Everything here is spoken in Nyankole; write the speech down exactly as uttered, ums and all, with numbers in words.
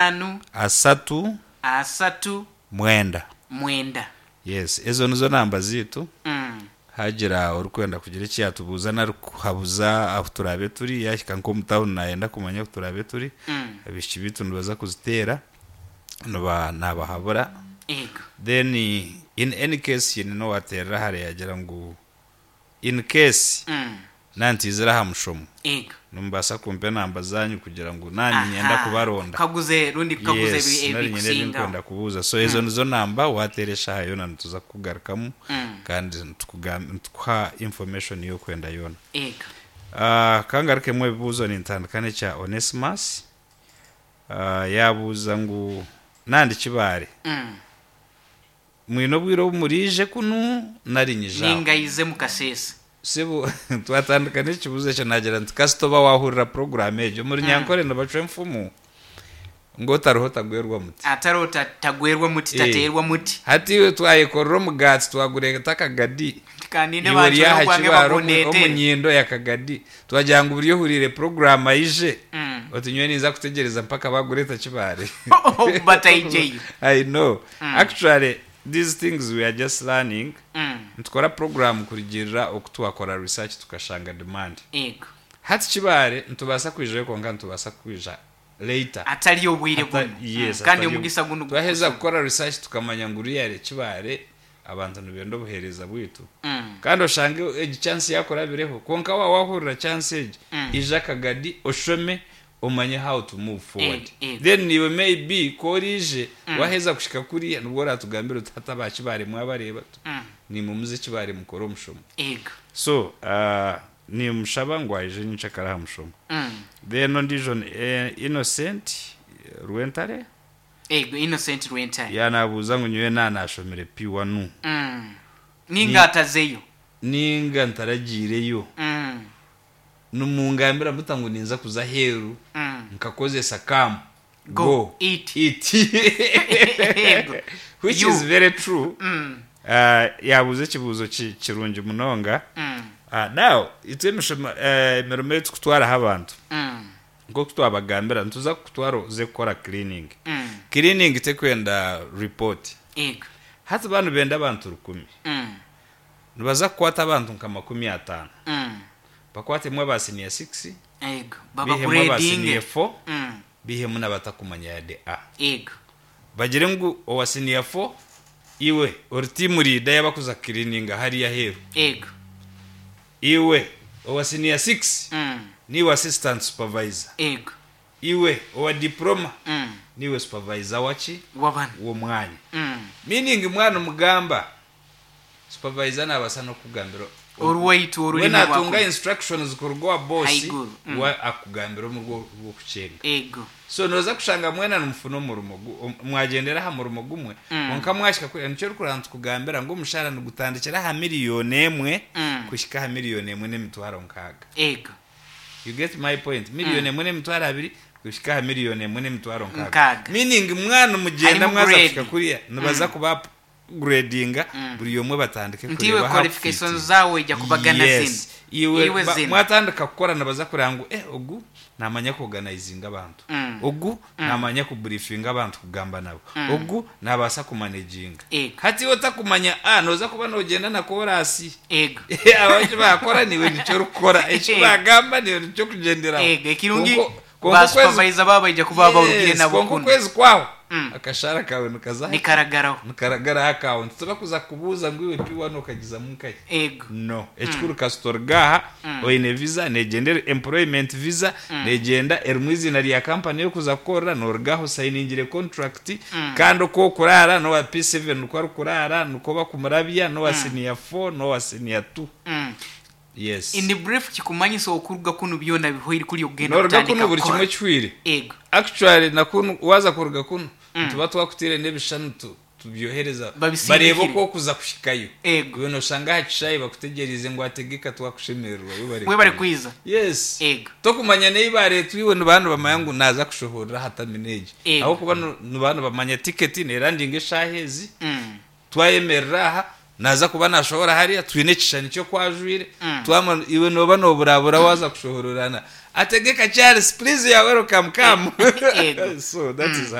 itaano, Asatu. Asatu. Mwenda. Mwenda. Yes, ezo nizo namba zaitu. Mm. Hagira orikwenda kugira eki yaatubuuza nari kuhabuza ahu turaabe turi, yaahika nk'omu tawuni naayenda kumanya ahu turaabe turi, Mm. abaishiki baitu nibaza kuziteera, niba naabahabura. Ego. Then in any case haine n'owaateerera hare yaagira ngu in case Mm. naantiizire aha mushomo, Ego. nimubaasa kumpa enamba zaanyu kugira ngu naanye niinyenda Aha. kubaronda. Kukaguze rundi kukaguza Yes, ebi- nari nyine ebi ebikusingaho. ndikwenda kubuuza. So ezo nizo namba waateera eshaaha yoona nituza kukugarukamu Mm. kandi nitukugam- nitukuha information y'okwenda yoona. Ego. Uh, kangarukemu ebibuuzo nintandika n'ekya Onesimus. Uh, yabuuza ngu nandi Kibaare Mm. mwine obwire obu muriije kunu nari nyija aho? Ningayize mu kasese. Sibu twatandika n'ekibuuzo ekyo nagira nti kasita oba waahurira puroguramu egyo omuri Nyankore nibacwa enfumu ngu otariho tagwerwa muti. Atariho ta- tagwerwa muti, Eh. tateerwa muti. Hati iwe twayekorera omugaati twagureeta akagadi. Kandinde Iwe ori bancwere aha ogwange Kibaare omu bagundeetere. omu nyindo ya kagadi twagira ngu buri ohuriire puroguramu aije Mm. oti nyowe ninza kutegyereza mpaka bagureeta Kibaare. Bataijeyo. I know. Actually, these things we are just learning. Mm. Nitukora program kurugirira oku twakora research tukashanga demand. Ego. Hati Kibaare nitubaasa kwijayo kwonka nitubaasa kwija later. Atari obwire Ata- bunu. Yes, Mm. Kandi atari omugisa guno twaheza kukora research tukamanya ngu really Kibaare abantu nibenda obuheereza bwitu. Mm. Kandi oshange egi chance yakurabireho kwonka wa wahurira chance egi Mm. ija akagadi oshome omanye how to move forward. Eh, eh. Then niwe maybe ku oriije waheza kushika kuriya nibwo oratugambira oti hati aba Kibaare mwabareeba Mm. nimumuze Kibaare mukore omushomo. Ego. So uh, nimushaba ngu aije nyenkyakare aha mushomo. Mm. Then ondiijo ni eh, Innocent eh, Rwentare. Ego, Innocent Rwentare. Yanabuuza ngu nyowe nanashomire P one. Mm. Ninga atazeyo. Ninga ntaragiireyo. Mm. Nimungambira muta ngu ninza kuza aheeru Mm. nkakozesa come Go, go, eat. Eat. Ego. Which You. is very true. Mm. uh, yabuuza ekibuuzo ki- kirungi munonga. Mm. uh, now itwe emishomo eh, emirimo ei tukutwaraho abantu, Mm. nk'oku twabagambira, nituza kukutwara oze kukora cleaning. Mm. Cleaning tekwenda report. Ego. Hati banu benda abantu rukumi, Mm. nibaza kukwata abantu nka makumi ataano, Mm. bakwatemu aba senior six, Ego. bihemu aba senior Babagrading. four, Mm. bihemu n'abatakumanya yade a. Ego. Bagire ngu owa senior four iwe ori team leader y'abakuza cleaning hariya heru. Ego. Iwe owa senior six, Mm. niwe assistant supervisor. Ego. Iwe owa diploma, Mm. niwe supervisor waki? Wabana. W'omwanya. Mm. Meaning mwana omugamba supervisor nabasa n'okugambira Oruwaitu we orurimi natunga rwako. instructions kuruga wa boss Haiguru. Mm. wa akugambira omu rw'okucenga. Ego. So noza kushanga mwena nimufuna omurimo gu- om- mwagyendera aha murimo gumwe, Mm. kwonka mwashika kuri nikyo orikuraba nitukugambira ngu omushahara nigutandikira aha miliyoni emwe Mm. kuhika aha miliyoni emwe n'emitwaro nkaaga. Ego. You get my point? Miliyoni emwe n'emitwaro abiri kuhika aha miliyoni emwe n'emitwaro nkaaga. Nkaaga. Meaning mwana mugenda Harimu mwaza grade. kuhika kuriya nibaza kuba gradinga, buri omwe batandike Nti iwe kureba how qualifications fit. zawe ijya kubagana Yes. zino. Iwe Iwe ba- zino. mwatandika kukora nibaza kureba ngu eh ogu namanya kuorganizinga abantu, Mm. ogu namanya kubriefinga abantu, kugamba nabo, ogu nabaasa kumanaginga. Ego. Hati iwe otakumanya a noza kuba nogenda na korasi. Ego. Abaki bakora niwe nicyo orikukora, eki bagamba niwe nicyo kugyenderaho. Ego. Ekirungi Kwonka- kwonka ba okwezi- supervisor baba ijya kuba barugire Yes, nabo kwonka kuno. okwezi kwaho Mm. akashara kawe nikaza Nikaragaraho. nikaragaraho account, tubakuza kubuuza ngu iwe P one okagizamu nkahi. Ego. No, ekikuru kasita orugaha oine visa negyenda, employment visa negyenda erimu izina rya kampani yokuza kukorera, norugaho sayiningire contract. Kandi uko okurara nowa P seven niko arikurara, niko bakumurabya nowa senior four nowa senior two. Mm. Yes. In brief, kikumanyisa okuruga kuno byona bihwaire kuri okugenda Noruga kutandika kuno buri kukora. kimwe kihwire. Ego. Actually nakunu waza kuruga kuno tuba twakutire n'ebishani tu- tubyohereza Babisindikire. barebe uko okuza kushikayo. Ego. Iwe noshanga aha kishayi bakutegerize ngu ategeka twakushemererwa, webare. We bari kwiza. Yes. Ego. Tokumanya neyi bareetwa iwe nibantu bamanya ngu naza kushohorera aha terminal egi, Ego. aho kuba nibantu bamanya tiketi nerandinga eshaaha ezi, Mm. twayemerera aha naza kuba nashohora hariya twine ekishani kyokwajwire. Mm. Twama iwe noba noburabura waza kushohorerana ategeka Charles, please, ya welcome, come. Ego. So that is